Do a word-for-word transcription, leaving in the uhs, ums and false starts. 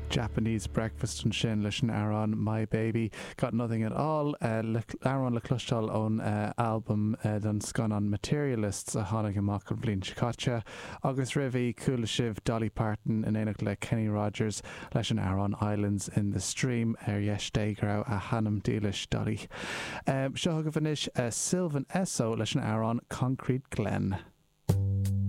Japanese Breakfast ansin leis an amhrán My Baby Got Nothing at All uh, amhrán le cloisteáil ón uh, album uh, don scannán Materialists a tháinig amach an bhliain seo caite agus roimhe chuala sibh Dolly Parton in éineacht le Kenny Rogers leis an amhrán Islands in the Stream ar dheis Dé go raibh a hanam dílis Dolly. Um, seo chugaibh anois uh, Sylvan Esso leis an amhrán Concrete Glen.